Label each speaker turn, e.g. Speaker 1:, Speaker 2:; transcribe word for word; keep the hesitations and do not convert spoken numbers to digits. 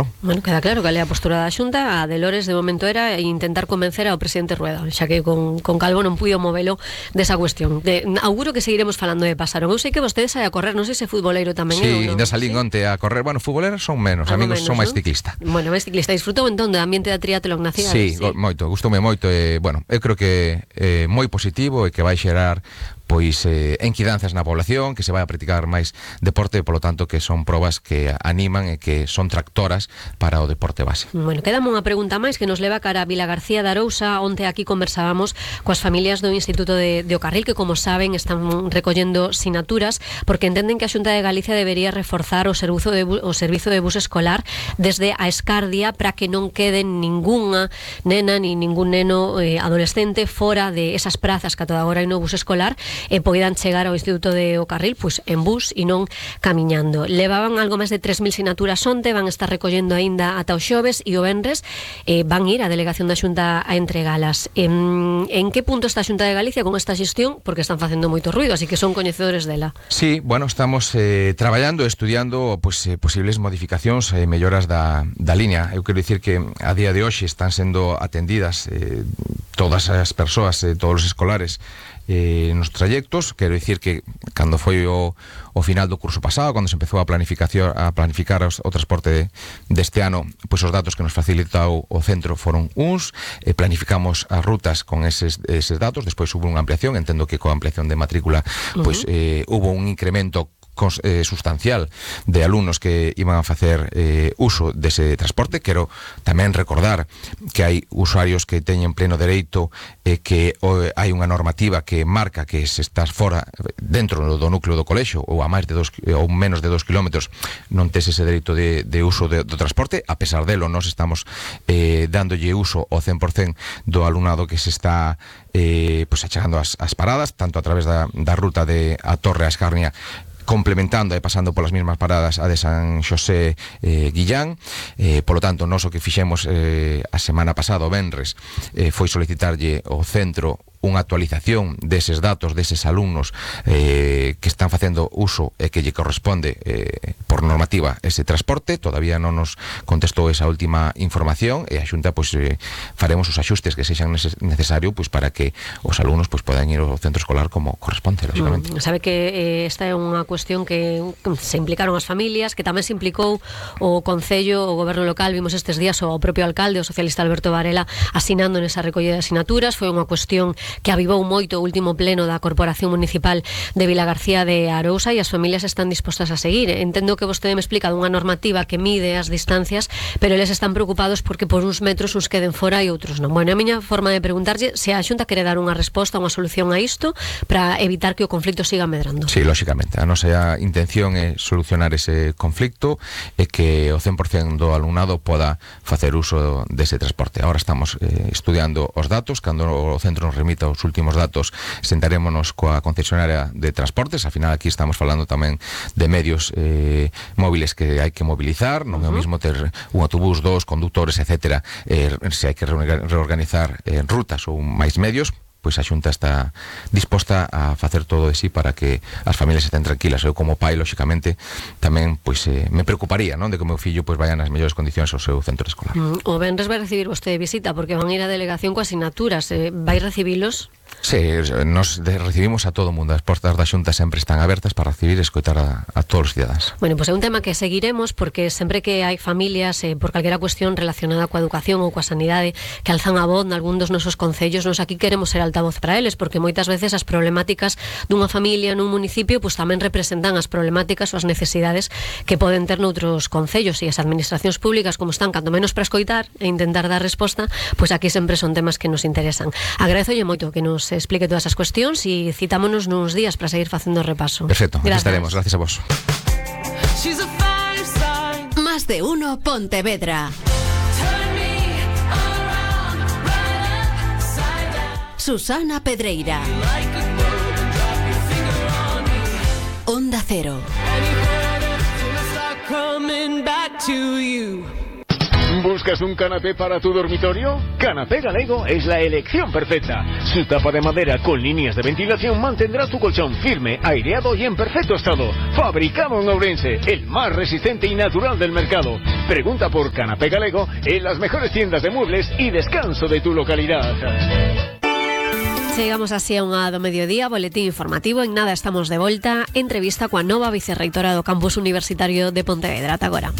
Speaker 1: claro.
Speaker 2: Bueno, queda claro que a postura da Xunta, a de Lores de momento era intentar convencer ao presidente Rueda, xa que con, con Calvo non puido movelo desa cuestión. De, auguro que seguiremos falando de Pasarón. Eu sei que vostedes hai a correr, non sei se futboleiro tamén
Speaker 1: sí,
Speaker 2: é ou non.
Speaker 1: Sí, salín onte a correr. Bueno, futboleros son menos,
Speaker 2: Algo
Speaker 1: amigos
Speaker 2: menos,
Speaker 1: son máis
Speaker 2: ¿no?
Speaker 1: ciclista.
Speaker 2: Bueno, máis ciclista. Disfrutou entón do ambiente da triatlón na cidade?
Speaker 1: Sí, sí, moito, gustoume moito e, bueno, eu creo que é moi positivo e que vai xerar pois eh, enquidanzas na población, que se vai a practicar máis deporte, polo tanto que son probas que animan e que son tractoras para o deporte base.
Speaker 2: Bueno, quedame unha pregunta máis que nos leva cara a Vilagarcía de Arousa. Onte aquí conversábamos coas familias do Instituto de, de O Carril, que como saben están recollendo sinaturas porque entenden que a Xunta de Galicia debería reforzar o servizo de, o servizo de bus escolar desde a Escardia para que non queden ningunha nena ni ningún neno eh, adolescente fora de esas prazas que a toda agora hai no bus escolar e poidan chegar ao Instituto de O Carril pois en bus e non camiñando. Levaban algo máis de tres mil sinaturas onte, van estar recollendo aínda ata o xoves e o venres eh, van ir a delegación da Xunta a entregalas. En, en que punto está a Xunta de Galicia con esta xestión? Porque están facendo moito ruido, así que son coñecedores dela.
Speaker 1: Sí, bueno, estamos eh, traballando, estudiando pues, eh, posibles modificacións e eh, melloras da, da línea. Eu quero dicir que a día de hoxe están sendo atendidas eh, todas as persoas, eh, todos os escolares eh, nos trayectos. Quero dicir que cando foi o, o final do curso pasado, cando se empezou a planificación a planificar os, o transporte de, deste ano, pois os datos que nos facilitou o centro foron uns, eh, planificamos as rutas con eses, eses datos, despois hubo unha ampliación, entendo que coa ampliación de matrícula pois eh, hubo un incremento Eh, sustancial de alumnos que iban a facer eh, uso dese transporte. Quero tamén recordar que hai usuarios que teñen pleno dereito e eh, que o, hai unha normativa que marca que se estás fora dentro do núcleo do colexio ou a máis de dos, ou menos de dos kilómetros non tes ese dereito de, de uso de, do transporte. A pesar delo, nós estamos eh, dándolle uso ao cen por cen do alumnado que se está eh, pues, achegando as, as paradas, tanto a través da, da ruta de a Torre a Escarnia, complementando e pasando polas mesmas paradas a de San Xosé eh, Guillán. Eh, polo tanto, nós o que fixemos eh, a semana pasada, o venres, eh, foi solicitarlle ao centro unha actualización deses datos, deses alumnos eh, que están facendo uso e que lle corresponde eh, por normativa ese transporte. Todavía non nos contestou esa última información e a Xunta pois, eh, faremos os axustes que sexan necesario pois, para que os alumnos pois, podan ir ao centro escolar como corresponde, lógicamente.
Speaker 2: Mm, sabe que eh, esta é unha cuestión que se implicaron as familias, que tamén se implicou o Concello, o Goberno local. Vimos estes días o propio alcalde, o socialista Alberto Varela, asinando nesa recollida de asignaturas. Foi unha cuestión que avivou moito o último pleno da Corporación Municipal de Vilagarcía de Arousa e as familias están dispostas a seguir. Entendo que vostede me explica dunha normativa que mide as distancias, pero eles están preocupados porque por uns metros uns queden fora e outros non. Bueno, a miña forma de preguntarlle se a Xunta quere dar unha resposta, unha solución a isto para evitar que o conflito siga medrando.
Speaker 1: Sí, lógicamente. A nosa intención é solucionar ese conflicto e que o cen por cen do alumnado poda facer uso dese transporte. Ahora estamos eh, estudiando os datos. Cando o centro nos remita os últimos datos, sentarémonos coa concesionaria de transportes. Al final aquí estamos falando tamén de medios eh, móviles que hai que mobilizar. Non é o mismo ter un autobús, dos conductores, etcétera, eh, se hai que reorganizar eh, rutas ou máis medios, pois a Xunta está disposta a facer todo de sí para que as familias estén tranquilas. Eu como pai, lógicamente, tamén pois eh, me preocuparía, non, de que o meu fillo pois vaya nas mellores condicións ao seu centro escolar.
Speaker 2: Mm, o venres vai recibir vostede visita porque van a ir a delegación coas asignaturas. Eh, vai recibilos?
Speaker 1: Sí, nos recibimos a todo o mundo. As portas da Xunta sempre están abertas para recibir e escoitar a, a todos os cidadanos.
Speaker 2: Bueno, pois pues é un tema que seguiremos porque sempre que hai familias eh, por calquera cuestión relacionada coa educación ou coa sanidade que alzan a voz nalgún dos nosos concellos, nos aquí queremos ser altavoz para eles, porque moitas veces as problemáticas dunha familia nun municipio pois pues, tamén representan as problemáticas ou as necesidades que poden ter noutros concellos, e as administracións públicas como están cando menos para escoitar e intentar dar resposta, pois pues aquí sempre son temas que nos interesan. Agradezolle moito que nos se explique todas as cuestións e citámonos nuns días para seguir facendo o repaso.
Speaker 1: Perfecto, aquí estaremos, gracias a vos.
Speaker 3: Más de uno Pontevedra. Susana Pedreira. Onda Cero.
Speaker 4: ¿Buscas un canapé para tu dormitorio? Canapé Galego es la elección perfecta. Su tapa de madera con líneas de ventilación mantendrá tu colchón firme, aireado y en perfecto estado. Fabricado en Ourense, el más resistente y natural del mercado. Pregunta por Canapé Galego en las mejores tiendas de muebles y descanso de tu localidad.
Speaker 2: Chegamos así a unha do mediodía, boletín informativo. En nada estamos de volta. Entrevista coa nova vicerreitora do Campus Universitario de Pontevedra. Ata agora.